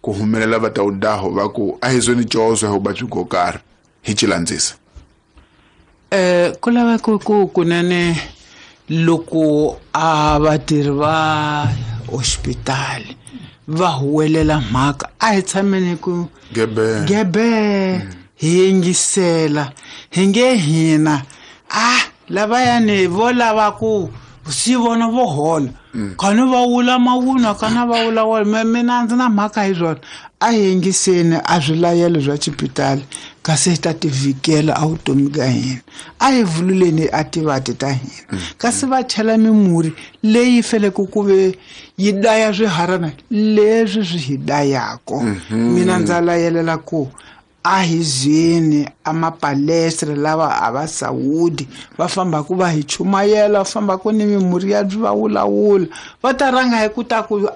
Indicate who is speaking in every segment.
Speaker 1: Ku humelela va ta udaho va ku a hi zweni cozo hi vuvabyi byo karhi hi ci landzisa.
Speaker 2: Ku laveka ku kunene loko a vatirhi va hospitali va huwelela mhaka a hi tshameni ku
Speaker 1: gebe
Speaker 2: gebe hi yingisela hi nge hina a lavayani vo lava ku si vona vo hola khani va wula mavunwa kana va wula wona mina ndzi na mhaka hi swona a hi yingiseni a swilayelo swa xipitali kasi hi ta tivikela a vutomi ka hina a hi vululeni a tivati ta hina kasi va chela mimurhi leyi feleke ku ve yi daya swiharana leswi swi hi dayako. Mina ndza layelela ku a hi zweni a mapalestra lava a va sawudi va fambaku va hi chumayela va fambaku ni mimurhi ya va wulawula va ta rhanga hi ku ta ku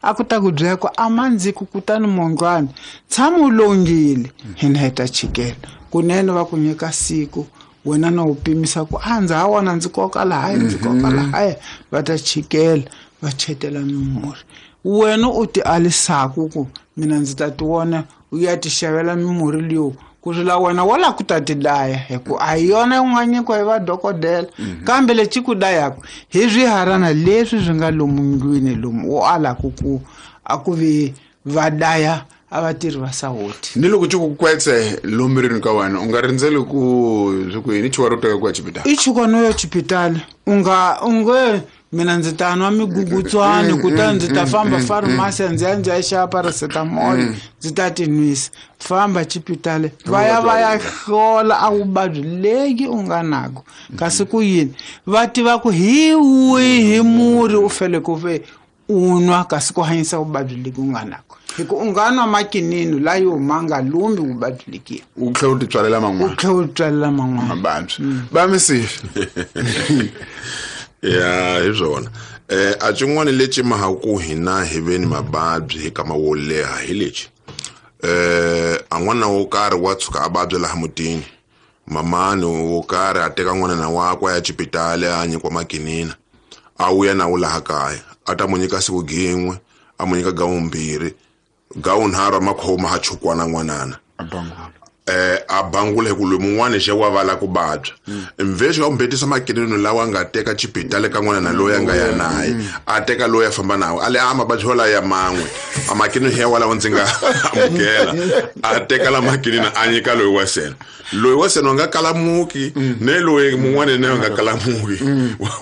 Speaker 2: a ku ta ku byela ku a mandziku kutani mondlwana tshama u longile hina hi ta chikela kunene va ku nyika siku wena na u pimisa ku a ndza ha wona ndzi koka lahaya ndzi koka lahaya va ta chikela va chetela mimurhi wena u ti alisaku ku mina ndzi ta ti vona u ya ti xavela mimurhi leyo ku tlula wena wo lava ku ta ti daya hi ku a hi yona yi nga nyikiwa hi vadokodela kambe lexi ku dayaka hi swiharana leswi swi nga lomu ndlwini lomu u alaku ku a ku vi va daya a vatirhi va sawoti.
Speaker 1: Ni loko ci ku kwetse lomu mirini ka wena u nga rindzeli ku swi ku yini chuka ro teka ku ya xipitali
Speaker 2: i chuka no ya xipitali u nga u nge mina ndzi ta nwa migugutswani kutani ndzi ta famba farumasi ndzi ya ndzi ya xava paracetamol ndzi ta ti nwisa famba xipitali va ya va ya hlola a vuvabyi leyi u nga nako kasi ku yini va tiva ku hi wihi murhi u fele ku ve u nwa kasi ku hanyisa vuvabyi leki u nga nako hi ku u nga nwa makinini la yo ma nga lumbi vuvabyi lekiya
Speaker 1: u tlhela u titswalela man'wana
Speaker 2: u tlhela u titswalela man'wana
Speaker 1: mavabyi va misifi
Speaker 3: ya hi swona a xin'wana lexi mahaku hina hi ve ni mavabyi hi kama wo leha hi lexi a n'wana wo karhi wa tshuka a vabya laha mutini mamani wo karhi a teka n'wana na wakwe a ya xipitali a nyikiwa makinina a vuya na wu laha kaya a ta mu nyika siku gin'we a mu nyika gawumbirhi gawunharhu a makhoma ha chukwana n'wanana a bangula hi ku loyi mun'wana xe wa vala ku vabya mvexi wa mbetisa makinino lawa nga teka xipitali ka n'wana na loyi a nga ya naye a teka loyi a famba nawe a le a mavabyi walayo ya man'we a makinino ya walawo ndzi nga amukela a teka la makinino a nyika loyi wa sena loyi wa sena a nga kalamuki ne loyi mun'wana na a nga kalamuki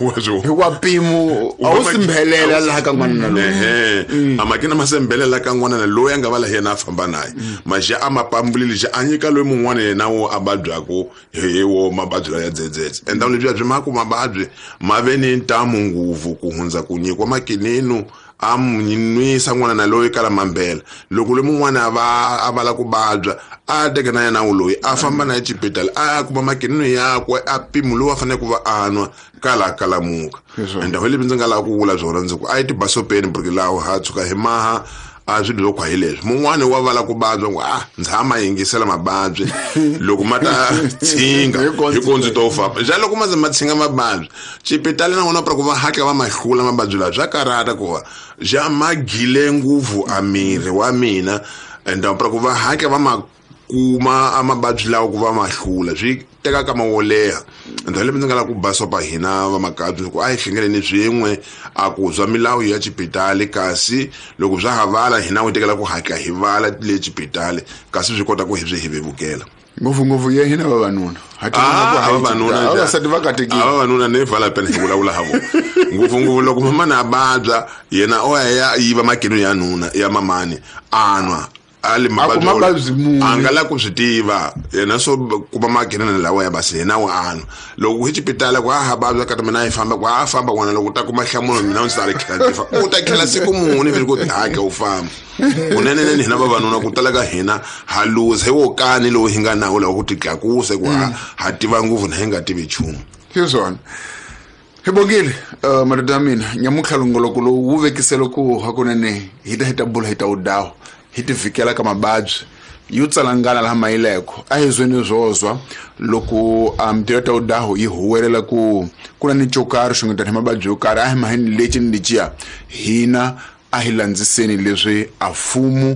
Speaker 3: wa swo
Speaker 1: hikuva mpimo a wu simbhelela laha ka n'wana na loyi
Speaker 3: a makina ma sembhelela ka n'wana na loyi a nga va la yena a famba naye maxa a ma pambulile xa a nyika loyi mun'wana yena wo a vabyaku hi wo mavabyi lawa ya dzedzedze endhawu lebyiya byi ma ku mavabyi ma ve ni ntamu ngopfu ku hundza ku nyikiwa makininu a nwisa n'wana na loyi kala mambela loko loyi mun'wana a va a vala ku vabya a teka na yena loyi a famba na xipitali a ya kuma makininu yakwe a mpimo lowu a fanele ku va a nwa kala kalamuka endhawu leyi ndzi nga lava ku vula byona ndzi ku a yi tibasopeni buriki lawo ha tshuka hi maha a swilo swo khwa hi leswi mun'wani wa vala ku vabya ku a ndzi ha ma yingisela mavabyi loko ma ta tshinga hi ko ndzi to famba xa loko ma ze ma tshinga mavabyi xipitali na vona pra ku va hatla va ma hlula mavabyi lawa swa karhata ku va xa ma gile ngopfu a miri wa mina ende pra ku va hatla va ma kuma a mavabyi lawa ku va ma hlula swi teka kama wo leha ndhawu leyi ndzi nga lava ku basopa hina vamakabyi ku a hi hlengeleni swin'we a ku zwa milawu ya xipitali kasi loko swa ha vala hina wu tekela ku hatla hi vala le xipitali kasi swi kota ku hi swi hi vevukela
Speaker 1: ngopfungopfu ye hina vavanuna
Speaker 3: vavanuna
Speaker 1: vavasati va katekile
Speaker 3: vavanuna ne vala pena hi vulavula ha vona ngopfungopfu loko mamani a vabya yena o ya yiva makinu ya nuna ya mamani a nwa ali
Speaker 1: mavabyi
Speaker 3: a nga la ku swi tiva yena swo kuma makinene lawa ya basi yena wa anwa loko hi xipitala ku a ha vabya kati mina yi famba ku a famba n'wana loko u ta kuma nhlamulo mina ndzi ta ri khela ndzi fa u ta khela siku muni vele ku hake u famba kuneneneni hina vavanuna ku tala ka hina ha luza hi wo kani lowu hi nga nawo lawa ku titlakusa ku ha tiva ngopfu na hi nga tivi nchumu
Speaker 1: hi swona hi bongile madoda ya mina nyamuntlha longoloko lowu wu vekisele ku hakunene hi ta hi ta bula hi ta wu dawu hi ti vhikela ka mavabyi yo tsalangana laha mayileko a hi zweni zwozwa loko mintirho ta udahu yi huwelela ku ku na ni xo karhi xungutana hi mavabyi yo karhi a hi maheni lexi ni lexiya hina a hi landziseni leswi a mfumo